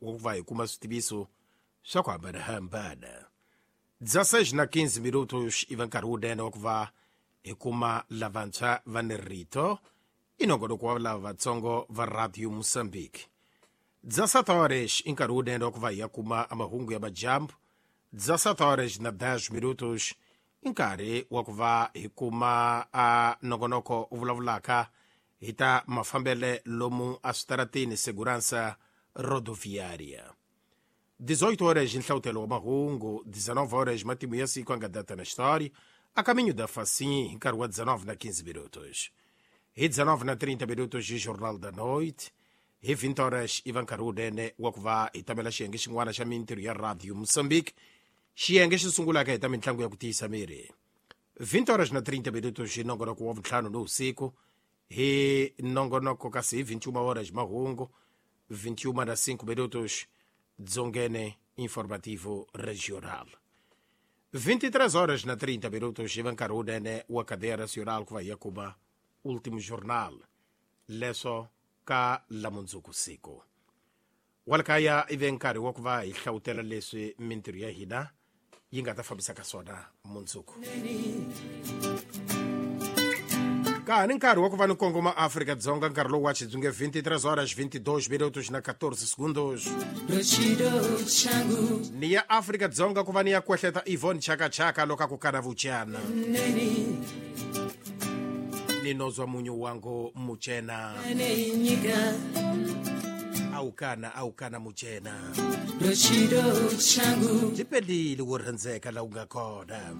Wa ku va hi kuma switiviso swa ku hambanahambana. 16 na 15 minutos i va nkarhi wunene wa ku va hi kuma lavantshwa va ni rito, i nongonoko wa lava vatsongo va Radio Mozambique. 17 horas i nkarhi wunene wa ku va hi ya kuma mahungu ya majambu. 17 horas na 10 minutos i nkarhi wa ku va hi kuma a nongonoko u vulavulaka hi ta mafambele lomu a switarateni, segurança rodoviária. 18 horas, nhlawutelo wa mahungu. 19 horas, matimu ya siku anga data na história, a caminho da Facim, hi nkarhi wa 19 na 15 minutos. Hi 19 na 30 minutos, Jornal da Noite. Hi 20 horas i va nkarhi wunene wa ku va hi tamela xiyenge xin'wana xa mintirho ya Radio Mozambique, xiyenge xi sungulaka hi ta mitlangu ya ku tiyisa miri. 20 horas na 30 minutos hi nongonoko wa vuntlhanu ni usiku, hi nongonoko kasi hi 21 horas mahungu. 21 na 5 minutos, Dzongene informativo regional. 23 horas na 30 minutos i va nkarhi wunene wa cadeia nacional ku va hi ya kuma último jornal, leswo ka lamundzuku siku walakaya i ve nkarhi wa ku va hi hlawutela leswi mintirho ya hina yi nga ta fambisaka swona mundzuku. Ka ha ni nkarhi wa ku va ni kongoma Afrika-Dzonga, nkarhi lowu wa xitsonge 23 horas 22 minutos na 14 segundos. Chido changu. Ni ya Afrika-Dzonga ku va ni ya kwehleta Yvonne Chakachaka loko a ku kana vuchana. Neni. Ninozwa munyu wangu muchena. Ane nyika. Awukana awukana muchena. Chido changu. Byi pelile wo rhandzeka la wu nga kona.